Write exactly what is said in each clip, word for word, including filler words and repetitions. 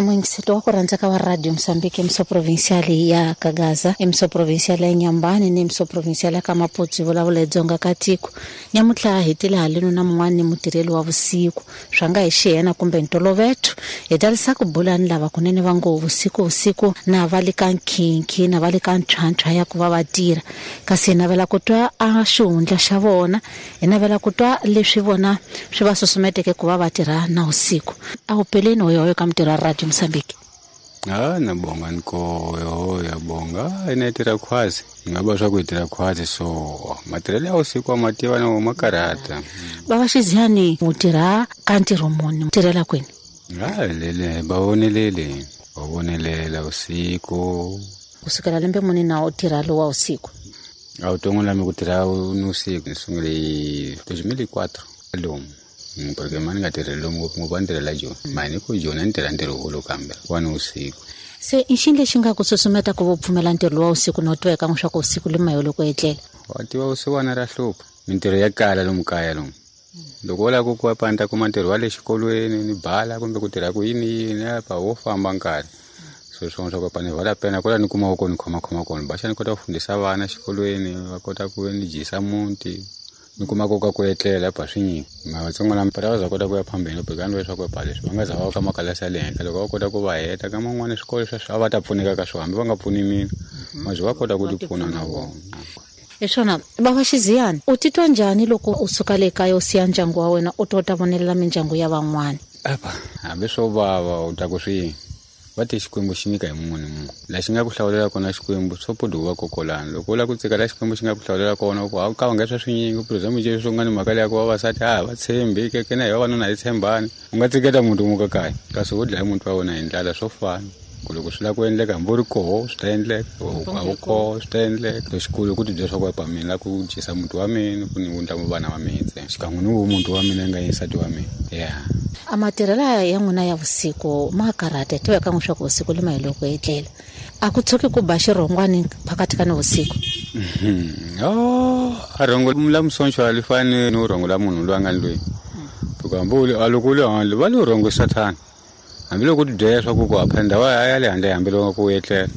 Muyingiselo wa ku rhandza ka wa Radio Mozambique, M S O Provincial ya Kagaza, M S O Provincial ya Nyambani ni M S O Provincial ya Kamaputsi, vulavula Dzonga ka tiko. Nyamutlha hi tile haleno na mun'wana mutirheli wa vusiku, swa nga hi xiyena kumbe ntoloveto. Hi talisa ku bula ni lava kunene va ngo vusiku vusiku na va le ka nkhinkhi na va le ka ntlhantlha ya ku va va tirha. Kasi hi navela ku twa a xihundla xa vona, hi navela ku twa leswi vona swi va susumeteke ku va va tirha na usiku. A wu peleni hoyohoyo ka mutirhi wa Radio Mozambique. Ah, na bonga nko yo ya bonga ine tira khwazi ngaba swa ku tira khwazi so matirhelo ya usiku a mativa na makarata. Baba Xiziani u tirha ka ntirho muni, u tirhela kwini? Ah, lele ba vonelele ba vonelela usiku. Kusukela lembe muni na u tirha lowa usiku? A wu tongo lami ku tirha ni usiku ni sungule hi dois mil e quatro lomu. Porque mani nga tirheli lomu ngopfungopfu a ni tirhela Joni. Mani ku Joni a ni tirha ntirho wukulu kambe wa ni usiku. Se i xini lexi nga ku susumeta ku va u pfumela ntirho lowa usiku no tweka leswaku usiku li mayo loko etlela? Wa tiva usiku ra hlupha. Mintirho ya kala lomu kaya lomu. Loko u lava ku ku panda kuma ntirho wa le xikolweni ni bala kumbe ku tirha ku yini yini apa wo famba nkarhi. So swona swa ku pani vala pena kwala ni kuma ko ni khoma khoma kona. Baxa ni kota ku fundisa vana xikolweni, va kota ku ni dyisa muti. Ni kuma ko ka ku etlela pa swinyingi. Matsongo lama para va za kota ku ya phambeni loko ni leswaku pa leswi va nga za va ka makalasi ya le henhla loko va kota ku va heta ka man'wana swikolo sweswo a va ta pfuneka ka swona hambi va nga pfuni mina mazi va kota ku tipfuna na vona. Hi swona baba Xiziani, u titwa njhani loko u suka le kaya u siya ndyangu wa wena u to ta vonelela mindyangu ya van'wana? Apa hambi swo vava u ta ku swi va ti Xikwembu xi nyika hi munhu ni munhu. Laha xi nga ku hlawulela kona Xikwembu swo podi wa kokolana. Loko u lava ku tsika laha Xikwembu xi nga ku hlawulela kona ku a ka nga swa swinyingi ku za muje swo nga ni mhaka leya ku vavasati a va tshembi ke ke na hi vavanuna hi tshembani. U nga tsiketa muntu muka kaya kasi wo dlaya muntu wa wena hi ndlala swo fana. Ku loko swi lava ku endleka hambi u ri koho swi ta endleka, a wu koho swi ta endleka. Lexikulu ku tibyela swa ku pa mina la ku dyisa muntu wa mina ku ni wundla vana va mina ntsena xikan'we ni wo muntu wa mina nga nsati wa mina. Yeah. A matirhelo ya n'wina ya vusiku ma karhata, tiveka n'wi swa ku vusiku li mahelo ku etlela. A ku tshuki ku ba xirhongwani phakathi ka ni vusiku? Oh, a rhongo la musoncho a li fani ni rhongo la munhu loyi a nga ni loyi. Hikuva hambi u li a loko u le handle va le rhongo sathana. Hambi loko u tibyela swa ku ku apha ndhawu ya le handle hambi loko ku etlela.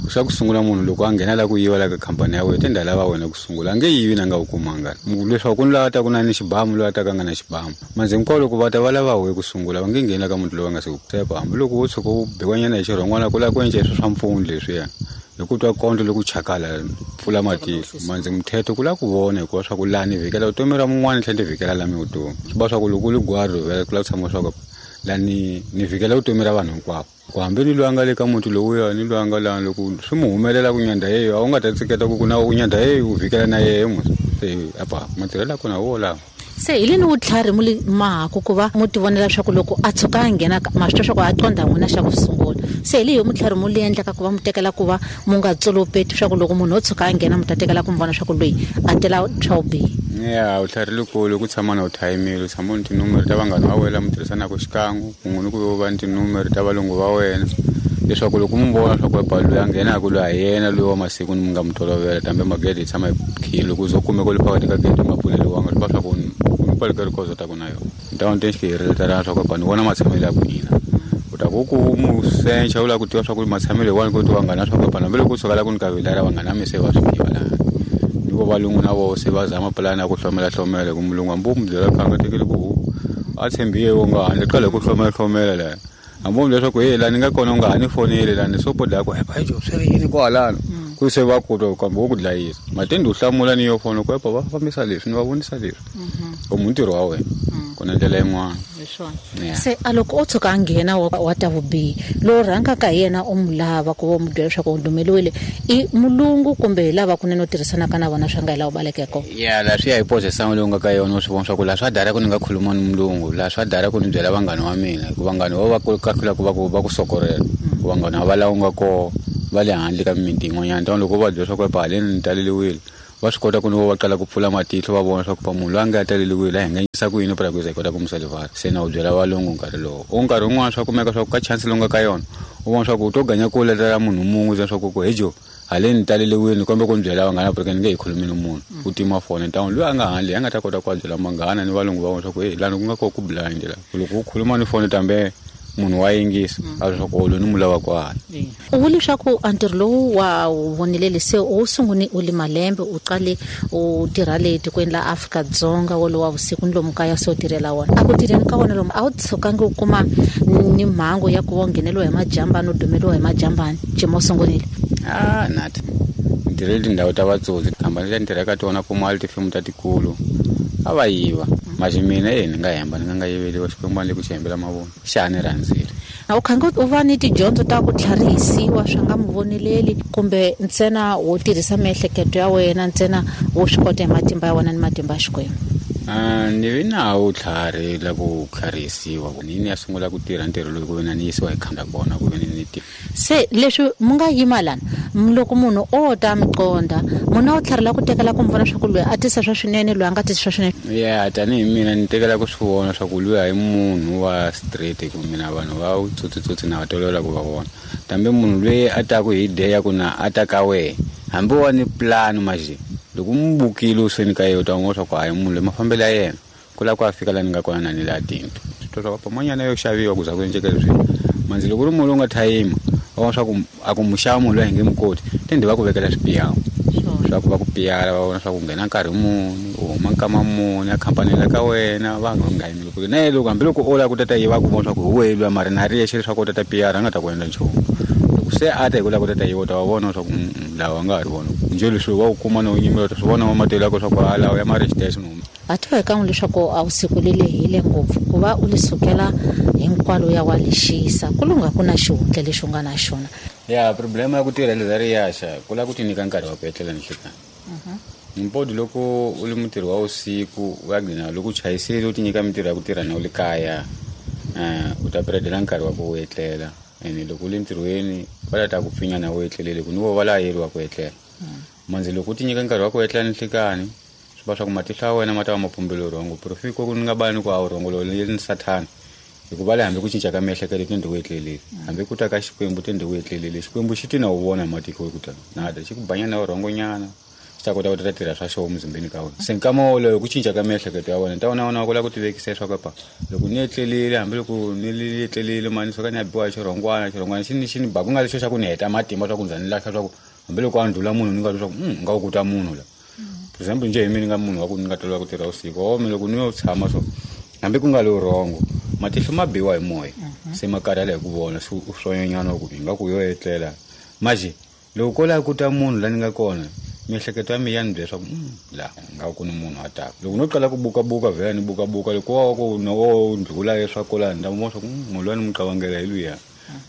Xa ku sungula munhu loko a nghena la ku yiva la ka khampani ya wena tindhawu lava wena ku sungula a nge yivi na nga wu kumanga. Leswaku ku ni laha ta ku na ni xibamu loyi a ta ka nga na xibamu. Manjhe hinkwavo loko va ta va lava wehe ku sungula va nge ngheni la ka munhu loyi a nga se ku tsepa hambi loko wo tshuka u biwanyana hi xirhongwana ku lava ku endla sweswo swa mpfuno leswiya. Hi ku twa kondlo loko chakala pfula matihlo manjhe mthetho ku lava ku vona hikuva swa ku laha ni vhikela vutomi ra mun'wana ni tlhela ni vhikela la mi vutomi. Swi va swa ku loko u li gwari vhela ku lava ku tshama swa ku laha ni ni vhikela vutomi ra vanhu hinkwavo. Ku hambi ni loyi a nga le ka muti lowuya ni loyi a nga laha loko swi mu humelela ku nyandha yeyo a wu nga ta tsiketa ku ku na u nyandha yeyo u vhikela na yehe musi. Se apa matirhelo ya kona wo lawa. Se hi leni vutlhari mu li mahaku ku va mu tivonela swa ku loko a tshuka a nghena ma swi twa swa ku a qondha n'wina xa ku sungula. Se hi leyi mutlhari mu li endlaka ku va mu tekela ku va mu nga tsolopeti swa ku loko munhu o tshuka a nghena mu ta tekela ku mu vona swa ku loyi a tela swa vubihi. Ya vutlhari likulu ku tshama na u thayimile u tshama ni tinumere ta vanghana va wena mi tirhisanaka xikan'we kun'we ni ku va ni tinumere ta valungu va wena leswaku loko mu vona swa ku epa loyi a nghenaka loyi a yena loyi wa masiku ni mi nga mu tolovela tambe magede yi tshama yi khile loko u zo kumeka u le phakathi ka gede u nga pfuleliwanga swi va swa ku ni kwale ka rikozo ta ku na yona. Ni ta va ni te swa ku epa ni vona matshamelo ya ku yina. U ta ku ku mu sencha u lava ku tiva swa ku matshamelo hi wani ku tiva vanghana swa ku epa hambi loko u suka la ku ni ka vila ra vanghana mi se va swi tiva laha. Ni vo valungu na voho se va zama pulani ya ku hlomela hlomela ku mulungu hambi u mu byela kha nga tekeli ku a tshembiye wo nga handle qala ku hlomela hlomela laha. Hambi u leswaku hey laha ni nga kona u nga ha ni foneli laha ni sopo dlaya ku epa jo swi ri yini kwalano ku se va ku twa kambe wo ku dlayisa matende u hlamula ni yo fona ku epa va fambisa leswi ni va vonisa leswi u mu ntirho wa wena ku na ndlela yin'wana. Se a loko o tshuka a nghena wa ta vubihi lowu rhangaka hi yena u mu lava ku va u mu byela leswaku u dumeliwile i mulungu kumbe hi lava kunene u tirhisanaka na vona swa nga hi laha u balekeke kona? Ya laha swi ya hi position leyi u nga ka yona u swi vona swa ku laha swa dara ku ni nga khuluma ni mulungu laha swa dara ku ni byela vanghana wa mina hikuva vanghana va va ku kahlula ku va ku va ku sokorela ku vanghana va laha u nga koho va le handle ka mimiti yin'wanyana tani loko va byela swa ku epa haleni ni taleliwile va swi kota ku ni va qala ku pfula matihlo va vona swa ku pa munhu loyi a nga taleliwile a hi nga yisa ku yini pra ku za hi kota ku musalivara se na u byela valungu nkarhi lowu u nkarhi wun'wana swa kumeka swa ku ka chance lowu nga ka yona u vona swa ku u to ganya kule ra munhu mun'we swa ku ku hejo haleni taleliwile kumbe ku ni byela vanghana porque ni nge hi khulumi ni munhu u tima foni tani loyi a nga handle a nga ta kota ku byela vanghana ni valungu va vona swa ku hey lani ku nga koho ku blind la loko u khuluma ni foni tambe Munhu wa yingisa a leswaku lo ni mulava kwala. U vule leswaku a ntirho lowu wa wu vonile se u sungune u li malembe u qale u tirha le tikweni la Afrika-Dzonga wolowo wa vusiku ni lomu kaya se u tirhela wona. A ku tirheni ka wona lomu a wu tshukangi u kuma ni mhangu ya ku va u ngheneliwa hi majambani u dumeliwa hi majambani jima u sungunile? Ah, nati ni tirhele tindhawu ta vatsotsi khampani leti ni tirhaka tona kuma tifemu ta tikulu a va yiva. Maxi mina e ni nga hemba ni nga nga yiveliwa Xikwembu a ni le ku xi hembela mavona xa ni rhandzile. A wu khange u va ni tidyondzo ta ku tlharihisiwa swa nga mi voneleli kumbe ntsena wo tirhisa miehleketo ya wena ntsena wo swi kota hi matimba ya wena ni matimba ya Xikwembu? Ah, ni vi na wu tlhari la ku tlharihisiwa ni ni ya sungula ku tirha ntirho lowu ku ve na ni yisiwa hi khanda kona ku ve ni ni tirha. Se leswi mu nga yima lana loko munhu o ta mi qonda munhu a wu tlharila ku tekela ku mi vona swa ku loyi a tisa swa swinene loyi a nga tisi swa swinene? Ya tanihi mina ni tekela ku swi vona swa ku loyi a hi munhu wa straight ku mina vanhu va wu tsotsitsotsi na va tolovela ku va vona. Kambe munhu loyi a taku hi day ya ku na a ta ka wehe hambi wa ni plan maxi loko mu bukile u sweni ka yena u ta vona swa ku hayi munhu loyi mafambelo ya yena ku lava ku a fika laha ni nga kona na ni laha tindlu. Swi twa swa ku pamanyana yo xaviwa ku za ku endleka leswi. Manzi loko ku ri munhu lowu nga thayima wa vona swa ku a ku mu xava munhu loyi a hi nge mu koti tende va ku vekela swipiyano swa ku va ku piyala va vona swa ku nghena nkarhi muni u huma nkama muni a khampani la ka wena va nga yimeli ku na loko hambi loko o lava ku tata yiva ku vona swa ku hi wehe luya mara na ri yexe leswaku u tata piyara a nga ta ku endla nchumu. Loko se a ta hi ku lava ku tata yiva u ta va vona swa ku lawa nga ha ri vona njhe leswi wa ku kuma no nyimela swi vona matelo ya ku swa ku ha lawa ya ma ri xitexe no. A tiva hi kan'we leswaku a vusiku li lehile ngopfu ku va u li sukela hinkwalo ya wa lexisa ku lunga ku na xihundla lexi u nga na xona. Ya problema ya ku tirha leza ri yaxa ku lava ku ti nyika nkarhi wa ku etlela ni nhlikani. Mpodi loko u ri mutirhi wa vusiku u ya gcina loko u chayisile u ti nyika mintirho ya ku tirha na u le kaya u ta piredela nkarhi wa ku etlela ene loko u le ntirhweni va la ta ku pfinya na u etlelele ku ni vo va la yeriwa ku etlela. Manzi loko u ti nyika nkarhi wa ku etlela ni nhlikani swi va swa ku matihlo ya wena ma ta va ma pumbele rhongo profiko ku ni nga bani ku a wu rhongo lowu ni sathana hikuva le hambi ku cinca ka miehleketo tende u etlelele hambi ku ta ka Xikwembu tende u etlelele Xikwembu xi ti na wu vona hi matiko ku ta na ta xi ku banya na rhongonyana xi ta kota ku ta tirha swa xona muzimbeni ka wena. Se nkama wolowo ku cinca ka miehleketo ya wena ta wona wona ku lava ku ti vekisa leswaku pa loko ni etlelile hambi loko ni etlelile mani suka ni ya biwa hi xirhongwana xirhongwana xi ni xi ni ba ku nga lexo xa ku ni heta matimba swa ku ndza ni lahla swa ku hambi loko a ndlula munhu ni nga twa swa ku nga wu kuta munhu la. For example njhe hi mina ni nga munhu wa ku ni nga tolovela ku tirha vusiku o mi loko ni yo tshama so hambi ku nga lo rhongo matihlo ma biwa hi moya se ma karhala hi ku vona swi swonyanyana ku hi nga ku yo etlela maxi loko ko lava ku ta munhu la ni nga kona miehleketo ya mina ya ni byela swa ku la nga ku ni munhu a taka loko no qala ku bukabuka vhela ni bukabuka loko wa ku no ndlula leswaku la ni ta vona swa ku munhu loyi ni n'wi qavangela hi luya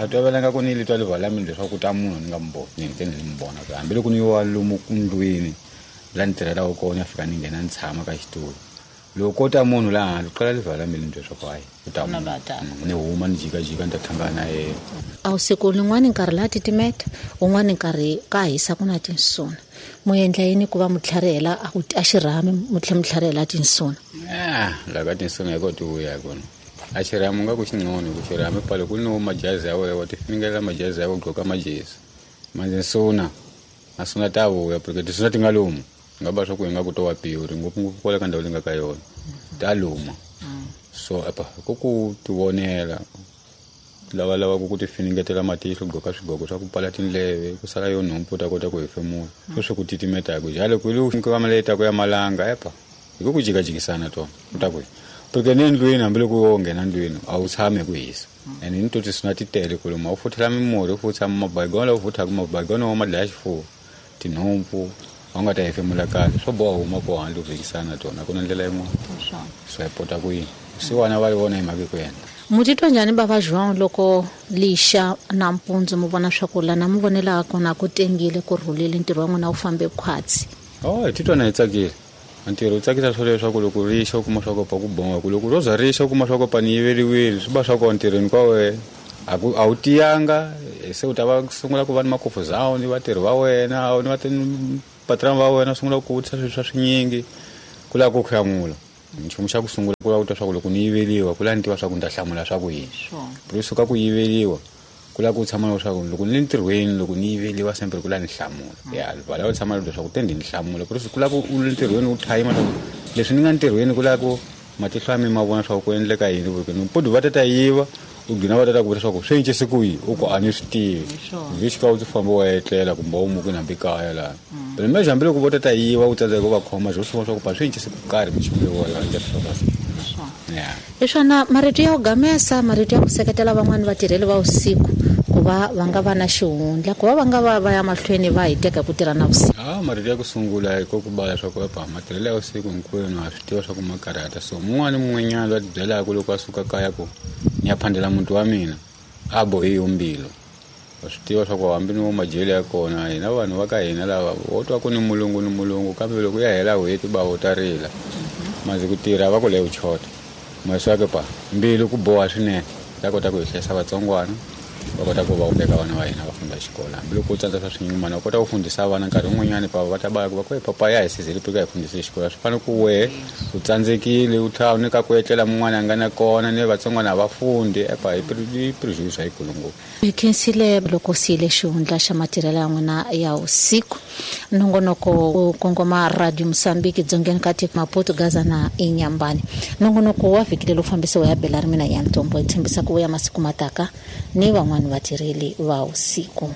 a tovelanga ku ni li twa livala mina leswaku ta munhu ni nga mi voni ni ni mi vona hambi loko ni wa lomu ndlwini la ni tirhelaka kona ya fika ni nghena ni tshama ka xitulu loko ko ta munhu laha handle qala livala mina ni twa swa ku hayi u ta ni huma ni jikajika ni ta hlangana na yena. A vusiku lin'wani nkarhi laha titimeta un'wani nkarhi ka hisa ku na tinsuna mu endla yini ku va mu tlharihela a ku a xirhami mu tlhela mu tlharihela tinsuna? Ah la ka tinsuna hi ko ti vuya kona a xirhami u nga ku xin'ono ku xirhami pale ku ni majazi ya wena wa ti finingela majazi ya wena u gqoka majezi manje nsuna a suna ta vuya porque tinsuna ti nga lumi nga ba swa ku hi nga ku to wa piwuri ngopfungopfu kwala ka ndhawu leyi nga ka yona ta luma so apa ku ku ti vonela lava lava ku ku ti finingetela matihlo gqoka swigqoko swa ku pfala tindleve ku sala yo nhompfu u ta kota ku hefemula swo swi ku titimetaka jalo ku lu nkama leyi taku ya malanga epa hi ku ku jikajikisana tona u ta ku porque ni ndlwini hambi loko wo nghena ndlwini a wu tshami hi ku hisa ene ni to tisuna ti tele ku luma u futhela mimurhi u futha mabayigona u futhaka mabayigona wa madlaya xifuwo tinhompfu a wu nga ta hefemula kahle swo boha huma ko handle u vhikisana tona a ku na ndlela yin'wana swi hi pota ku yini siwana va yi vona hi mhaka ku endla. Mu titwa njhani bava João loko lixa nampundzu mu vona swa ku lana mu vonelaka kona ku tengile ku rhulile ntirho wa n'wina wu fambe khwatsi? Oh hi titwa na hi tsakile ntirho wu tsakisa swo leswaku loko rixa u kuma swa ku pa ku bonga ku loko ro za rixa u kuma swa ku pa ni yiveriwile swi va swa ku ntirhweni ka wena a ku a wu tiyanga se u ta va sungula ku va ni makofu ni vatirhi va wena ni va patron va wena sungula ku vutisa swilo swa swinyingi ku lava ku hlamula nchumu xa ku sungula ku lava ku twa swa ku loko ni yiveriwa ku lava ni tiva swa ku ni ta hlamula swa ku yini ku suka ku yiveriwa ku lava ku tshama na swa ku loko ni le ntirhweni loko ni yiveriwa sempre ku lava ni hlamula ya va lava ku tshama na swa ku tende ni hlamula ku ku lava ku u le ntirhweni u thayima leswi ni nga ntirhweni ku lava ku matihlo ya mina ma vona swa ku endleka yini ku ni podi va ta ta yiva U gcina va tata ku vutisa ku swi cincise ku yini, u ku a ni swi tivi. Vhiki ka u ti famba wa etlela kumbe u muki hambi kaya laha. Phela mehe hambiloko vo tata yiva u tsandzeka ku va khoma byo swi vona swa ku pa swi cincise ku karhi minchumu leyi wa landza swa Yeah. Hi swona marito ya ku gamesa, marito ya ku seketela van'wani vatirheli va vusiku ku va va nga va na xihundla, ku va va nga va va ya mahlweni va hiteka ku tirha na vusiku. Ah, marito ya ku sungula hi ku bala swa ku epa matirhelo ya vusiku hinkwenu ha swi tiva swa ku ma karhata. So mun'wana ni mun'wanyana loyi a tibyelaka loko a suka kaya ku ni ya phandela muti wa mina a bohi yo mbilu. Wa swi tiva swa ku hambi ni wo majele ya kona hina vanhu va ka hina lava wo twa ku ni mulungu ni mulungu kambe loko ya hela n'hweti ba wo ta rila. Mazi ku tirha va ku leyi chota. Maswake pa mbilu ku boha swinene ta kota ku hi hlayisa vatsongwana va kota ku va veka vana va hina va funda xikolo hambiloko u tsandza swa swinyumana u kota ku fundisa vana nkarhi wun'wanyani pa va ta va ku va ku papa ya hi sizile pika hi fundise xikolo swi fanele ku wehe u tsandzekile u tlhela u nyika ku etlela mun'wana a nga na kona ni vatsongwana a va fundi epa hi prejudice yikulu ngopfu. Hi khensile loko siyile xihundla xa matirhelo ya n'wina ya vusiku. Nongonoko wu kongoma Radio Mozambique dzongeni ka tiko Maputo, Gaza na Inhambane. Nongonoko wa vhiki leri fambisiwa ya Bela ri mina ya Ntombo hi tshembisa ku vuya masiku mataka ni van'wani vatirheli va vusiku.